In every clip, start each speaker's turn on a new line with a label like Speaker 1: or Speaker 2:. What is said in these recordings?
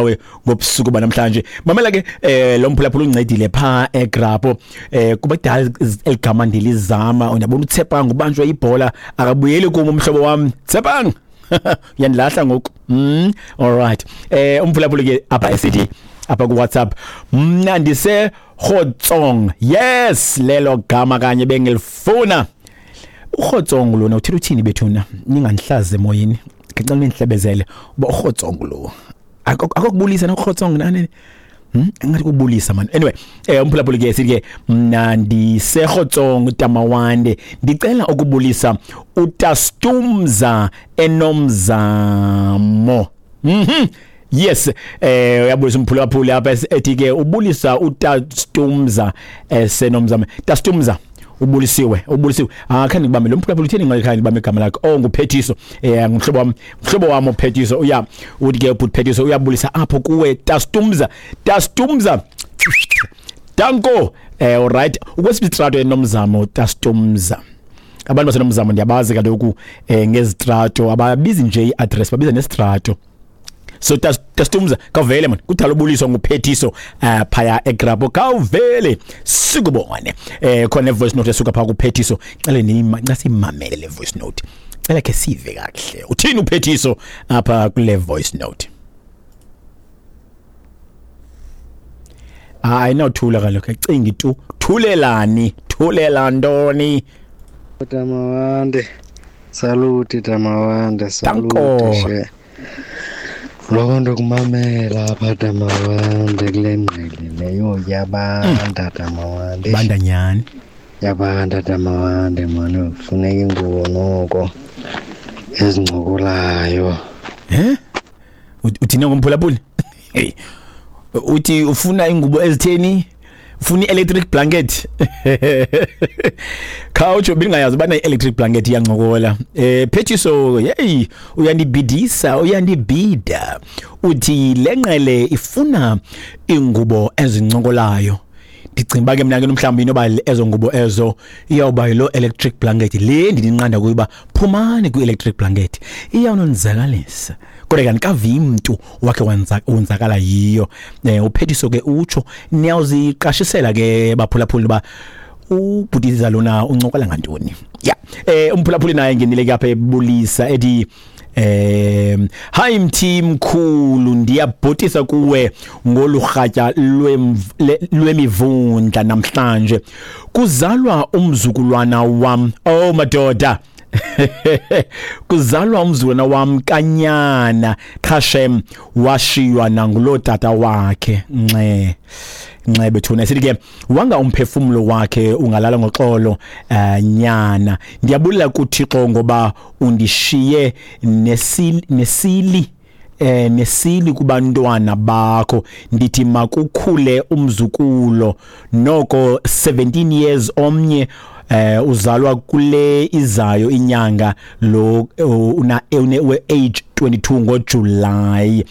Speaker 1: Nawe ngobusuku banamhlanje, mamela ke, lo mphulaphula uncedile pha eGrapo, kuba kudala eligama ndilizama. Ndiyabona uTshepang ubanjwe ibhola, akabuyeli kum umhlobo wam. Tshepang, uyandilahla ngoku. All right, umphulaphuli ke apha esithi apha ku WhatsApp, mna ndise Khotsong. Yes, lelo gama kanye bengilifuna. UKhotsong lona uthetha uthini bethuna? Ningandihlaze emoyeni, ngicela nindihlebezele uba uKhotsong lo akokubulisa noKhotsong nani. Ngathi kubulisa man. Anyway, umphulaphuli ke sithi ke, mna ndiseKhotsong Tamawande, ndicela ukubulisa uTastumza enomzamo. Yes, uyabulisa umphulaphuli apha, ethi ke ubulisa uTastumza esenomzamo. Tastumza, ubulisiwe, ubulisiwe. Ah, khange ndibambe lo mphulaphuli utheni, ngakhange ndibambe igama lakhe. Oh, nguPhethiso, ngumhlobo wam, mhlobo wam uPhethiso. Uya uthi ke ubhuti Phethiso uyabulisa apho kuwe Tastumza. Tastumza, danko. Alright, ukwesitrato enomzamo Tastumza. Abantu basenomzamo ndiyabazi kaloku, ngezitrato ababizi nje iaddress, babiza nesitrato. So Tastumza, kavele man, kudala ubuliswa nguPhethiso phaya eGrapo. Kawuvele sikubone. Khona voice note esuka pha kuPhethiso, cela nima nxa simamele le voice note, cela ke sive kakuhle uthini uPhethiso apha kule voice note. Hayi, nawuthula kaloku, acingi tu, thulelani, thulela ntoni?
Speaker 2: Tamawande, saluti Tamawande, saluti.
Speaker 1: Danko.
Speaker 2: She. Loko ndokumamela apha Tamawande kule ngqele leyo yabanda Tamawande.
Speaker 1: Banda nyani.
Speaker 2: Yabanda Tamawande mani, kufuneka ingubo noko ezincokolayo.
Speaker 1: Eh? Uthini ngomphulaphuli? Hey. Uthi ufuna ingubo ezitheni? Ufuna i-electric blanket. Khawutsho, bingayazi ubana i-electric blanket iyancokola. Phethiso, hey, uyandibhidisa, uyandibhida. Uthi lenqele ifuna ingubo ezincokolayo. Ndicinga uba ke mna ke mhlawumbi inoba ezo ngubo ezo iyawuba yilo electric blanket le ndinqanda kuyo uba phumani kwi-electric blanket, iyawunonzakalisa. Kodwa ke andikavi mntu wakhe wonzakala yiyo. Uphethiso ke utsho, niyawuziqashisela ke baphulaphuli uba ubhutiza lona uncokola ngantoni. Ya, umphulaphuli naye ngenile ke apha ebulisa, ethi hi mthi mkhulu, ndiyabhotisa kuwe ngolurhatya lwemivundla namhlanje, kuzalwa umzukulwana wam. Oh madoda, kuzalwa umzukulwana wam kanyana Khashem, washiywa nangulo tata wakhe. Nxe nxe bethuna. Sithi ke wanga umphefumulo wakhe ungalala ngoxolo. Nyana, ndiyabulela kuThixo ngoba undishiye nesili kubantwana bakho. Ndithi makukhule umzukulo noko 17 years omnye, uzalwa kule izayo inyanga lo, una une age 22 ngoJuly.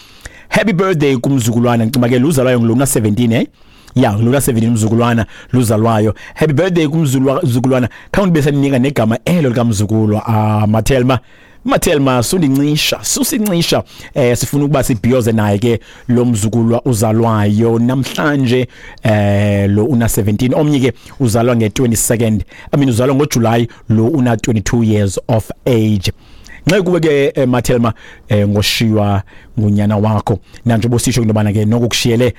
Speaker 1: Happy birthday kumzukulwana. Ngicima ke luzalwayo ngilona 17, ya, lona 17 umzukulwana luzalwayo. Happy birthday kumzukulwana. Khawundi bese ninika negama elo likamzukulwa. Ah, Mathelma, Mathelma, sundincisha, susincisha. Sifuna ukuba sibhiyoze naye ke lo mzukulwa uzalwayo namhlanje, lo una 17. Omnye ke uzalwa nge-22nd, I mean uzalwa ngoJuly, lo una 22 years of age. Nxa kuwe ke, Mathelma, ngoshiywa ngunyana wakho, nanjengoba usisho into yobana ke noko kushiyele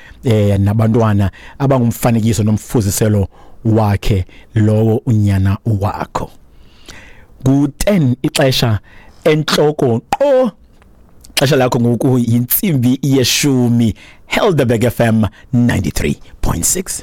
Speaker 1: nabantwana abangumfanekiso nomfuziselo wakhe lowo unyana wakho. Ku-10 ixesha entloko qo, xesha lakho ngoku yintsimbi yeshumi. Helderberg FM 93.6.